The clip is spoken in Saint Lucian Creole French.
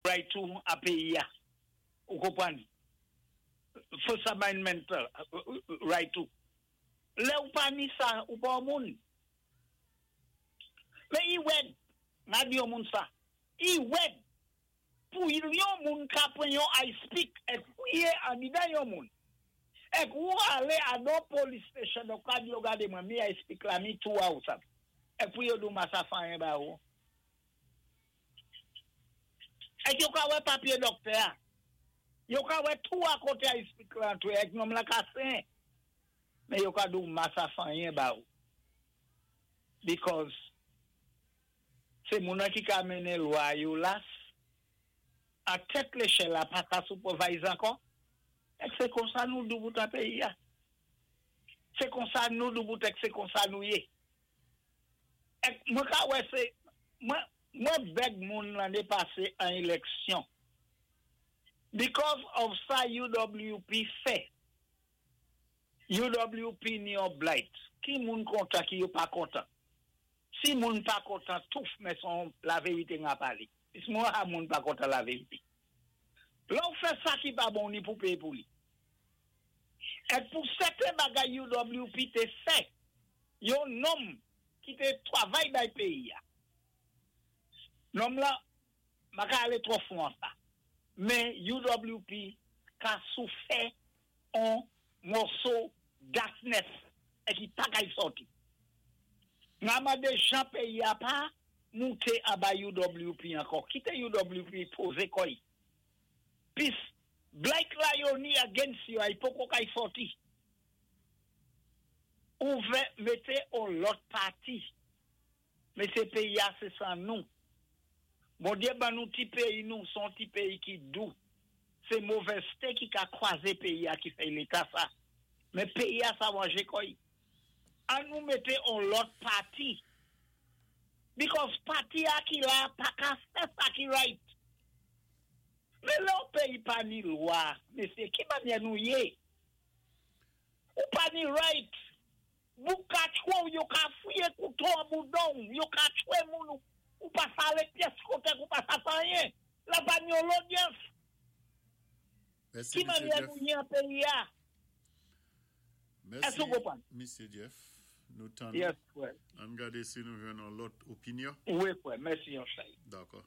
Right ou a péyi-a. Ou konpwann? First Amendment right ou. Lè ou pa ni sa, ou pa yon moun. Men i wèd, m a di yon moun sa, i wèd pou yon moun ka pran yon ice pick èk fouye andidan yon moun. Èk ou alé a don police station, ou ka di yo gade mwen, mi ice pick la, mi tou a ou sa. Èk pou yo di ou ma sa fè anyen ba ou. Èk yo ka wè papyé dòktè-a. Yo ka wè tou a koté ice pick la antwé, èk nonm la ka sen. Men yo ka di ou ma sa fè anyen ba ou. Because sé moun an ki ka mennen lwa yo las, an tèt léchèl la pa ka supervise ankò. Èk sé konsa nou doubout an péyi-a. Sé konsa nou doubout èk sé konsa nou yé. Èk mwen ka wè sé, mwen, mwen bèg moun lanné pasé an éléksyon. Because of sa UWP fè. UWP ni yon blight. Ki moun kontan, ki yo pa kontan. Si moun pa kontan, touf, men son lavérité nga pali. Pis mwen ha moun pa kontan lavérité. Lè ou fè sa ki pa bon ni pou péyé pou li. Èk pou sèten bagay UWP té fè, yon nonm ki té twavay bay péyi-a. Nonm la, m pa ka alé twò fon an sa. Men UWP ka soufè on mòso darkness e ki pa kay sòti. Nga mandé jan péyi-a pa mouté anba UWP ankò. Kité UWP pozé kò y. Pis, blight la yo ni against yo a, i poko kay sòti. Ouvè, mété on lòt pati. Men sé péyi-a sé san nou. Bondyé ban nou ti péyi nou, son ti péyi ki dou. Sé movèzté ki ka kwazé péyi-a ki fè léta sa. Men péyi-a sa wanjé kò y. An nou mété on lòt pati. Because pati-a ki la pa ka fè sa ki right. Men lè on péyi pa ni lwa, mésyé, ki mannyè nou yé? Ou pa ni right. Bou ka tchwé ou, yo ka fouye kouto an boudon ou, yo ka tchwé moun ou, ou pa sa alé pyès koté, ou pa sa fè anyen. La pa ni yon lodyans. Mèsi, Ki Misye mannyè Jeff. nou yé an péyi-a? Mèsi, Èske ou konpwann? Misye Jeff. Nou tann ou. Yes, frè. Ann gadé si nou jwenn yon lòt opinyon. Wi, frè. Mèsi yon chay. Dakò.